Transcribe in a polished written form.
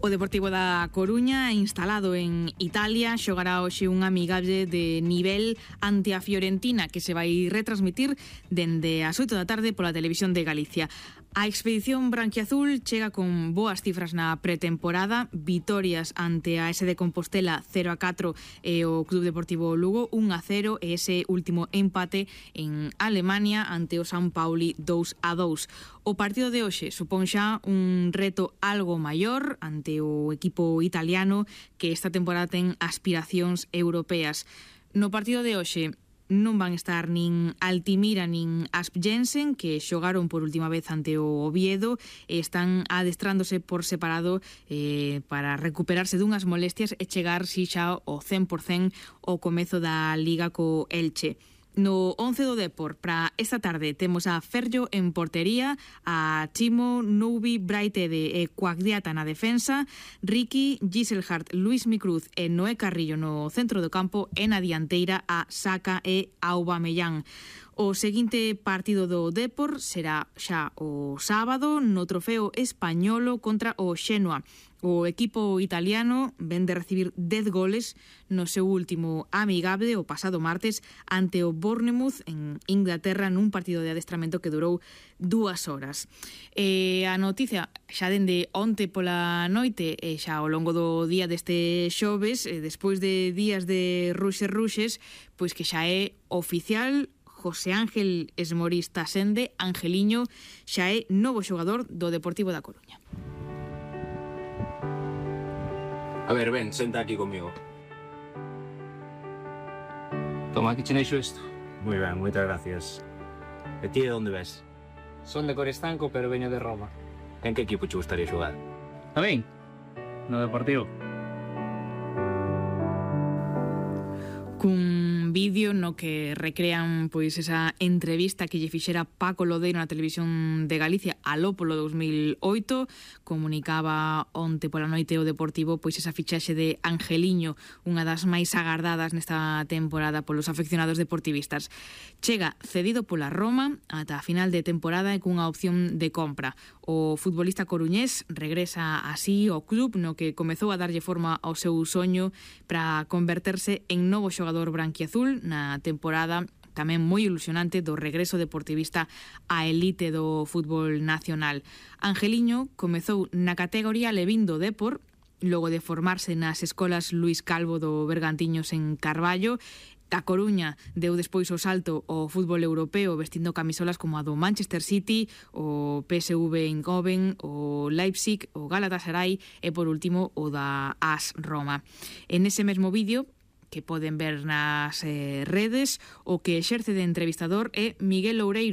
O Deportivo da Coruña, instalado en Italia, xogará hoxe un amigable de nivel ante a Fiorentina que se vai retransmitir dende as 8 da tarde pola televisión de Galicia. A expedición branquiazul chega con boas cifras na pretemporada, vitorias ante a S de Compostela 0-4 e o Club Deportivo Lugo 1-0 e ese último empate en Alemania ante o San Pauli 2-2. O partido de hoxe supón xa un reto algo maior ante o equipo italiano que esta temporada ten aspiracións europeas. No partido de hoxe non van estar nin Altimira nin Asp Jensen, que xogaron por última vez ante o Oviedo e están adestrándose por separado para recuperarse dunhas molestias e chegar si xa ao 100% ao comezo da Liga co Elche. No 11 do Depor, para esta tarde, temos a Ferllo en portería, a Chimo, Noubi, Braitede e Cuagdiata na defensa, Ricky, Giselhardt, Luis Micruz e Noé Carrillo no centro do campo e na dianteira a Saka e Aubameyang. O seguinte partido do Depor será xa o sábado no Trofeo Españolo contra o Xenua. O equipo italiano ven de recibir 10 goles no seu último amigable o pasado martes ante o Bournemouth en Inglaterra nun partido de adestramento que durou 2 horas. A noticia xa dende onte pola noite e xa ao longo do día deste xoves, despois de días de ruxes, pois que xa é oficial. José Ángel Esmorís Tasende, Angeliño, xa é novo xogador do Deportivo da Coruña. A ver, ven, senta aquí conmigo. Toma, aquí tenéis esto. Muy ben, moitas gracias. E ti de onde ves? Son de Corestanco, pero veño de Roma. En que equipo che gustaría xogar? A min? No Deportivo. Cun vídeo no que recrean pois esa entrevista que lle fixera Paco Lodeiro na televisión de Galicia aló polo 2008, comunicaba onte pola noite o Deportivo pois esa fichaxe de Angeliño, unha das máis agardadas nesta temporada polos afeccionados deportivistas. Chega cedido pola Roma ata a final de temporada e cunha opción de compra. O futbolista coruñés regresa así ao club no que comezou a darlle forma ao seu soño para converterse en novo xogador branquiazul na temporada tamén moi ilusionante do regreso deportivista á elite do fútbol nacional. Angeliño comezou na categoría Levín do Depor, logo de formarse nas escolas Luís Calvo do Bergantiños en Carballo. A Coruña deu despois o salto ao fútbol europeo vestindo camisolas como a do Manchester City, o PSV Eindhoven, o Leipzig, o Galatasaray e por último o da AS Roma. En ese mesmo vídeo que poden ver nas redes, o que exerce de entrevistador é Miguel Loureiro,